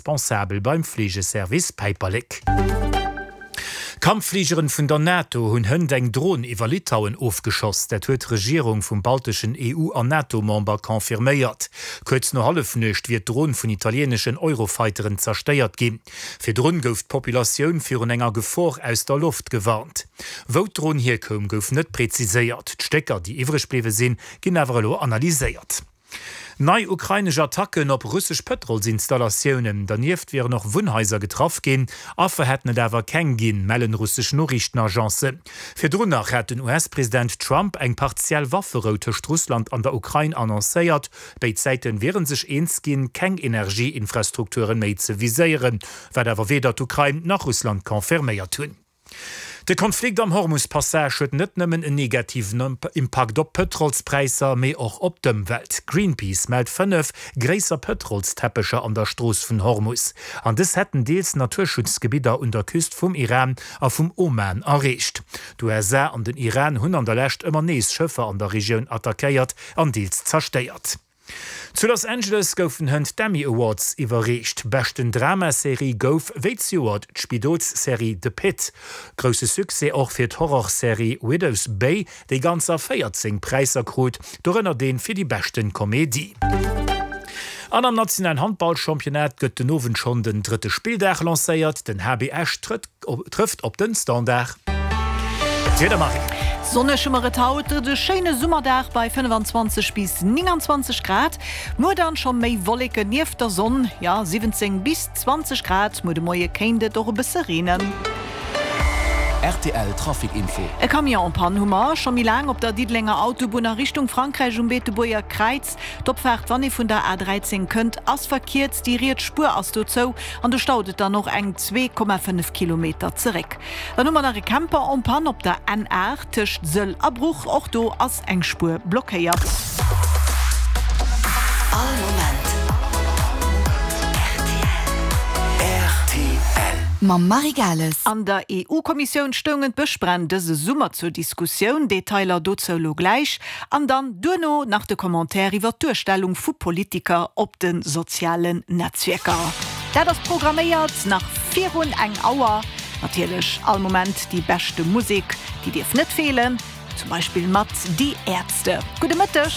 Responsabel beim Fleegeservice Päiperlek. Kampffligeren vun der NATO hunn hënt eng Dron iwwer Litauen ofgeschoss. Dat huet d'Regierung vum balteschen EU an NATO-Member confirméiert. Kuerz no Hallefnuecht wier d'Dron vun italieeneschen Eurofighteren zerstéiert ginn. Virdrun gouf d'Populatioun virun enger Gefor aus der Loft gewarnt. Wou d'Dron hierkoum, gouf net preziséiert. D'Stécker, déi iwwreg bliwwe sinn, ginn awer elo analyséiert. Nei ukrainesch Attacken op russesch Pëtrolsinstallatiounen. Dernieft wieren och Wunnhaiser getraff ginn. Affer hätten et awer keng ginn, mellen russesch Noriichtenagencen. Virdrun nach hat den US-President Trump eng partiell Wafferou tëscht Russland an der Ukrain annoncéiert. Béid Säite wiere sech eens ginn, keng Energieinfrastrukturen méi ze viséieren, wat awer weder d'Ukrain nach Russland confirméiert hunn. De Konflikt am Hormus-Passage huet net nëmmen en negativen Impakt op d'Pëtrolspräisser, mee och op d'Ëmwelt. Greenpeace mellt 5 gréisser Pëtrolsteppecher an der Strooss vun Hormus. An dës hätten deels Naturschutzgebidder un der Küst vum Iran a vum Oman erreecht. D'USA an den Iran hunn an der Lescht ëmmer nees Schëffer an der Regioun attackéiert an deels zerstéiert. Zu Los Angeles goufen hënt d'Emmy Awards iwwerreecht. Beschten Dramaserie gouf wéi zejoert d'Spidolsserie The Pitt. Grousse Succès och fir d'Horrorserie Widow's Bay, déi ganzer 14 Präisser krut, dorënner dee fir déi beschten Komedie. An am nationalen Handballchampionnat gëtt den Owend schonn den drëtte Spilldag lancéiert. Den HB Esch trëtt Trëfft op den Standard. D'Wieder Marie. Sonneg hu mer et haut, et e schéine Summerdag bei 25 bis 29 Grad. Muer dann scho méi Wolleken nieft der Sonn, jo 17 bis 20 Grad. Muer de Moie kéint et och e bësse reenen. Rtl Trafic Info. E Camion en panne hu mer scho méi laang op der Diddelenger Autobunn a Richtung Frankräich um Beetebuerger Kräiz. D'Opfaart, wann ee vun der A13 kënnt, ass verkierzt, déi riets Spuer ass do zou an do staut et dann och eng 2,5 Kilometer zeréck. Dann hu mer nach e Camper en panne op der N8 tëscht Sëll a Bruch, och do ass eng Spuer blockéiert. All Moment rtl. Mam Marie Gales. An der EU-Kommissioun stoungen d'Bëschbränn dëse Summer zur Diskussioun. Detailer dozou lo gläich. An dann duerno nach de Commentaire iwwer d'Duerstellung vu Politiker op de sozialen Netzwierker. Dat ass programméiert nach virun eng Auer. Natierlech all Moment déi beschte Musek, déi dierf net feelen, zum Beispill mat Die Ärzte. Gudde Mëtteg!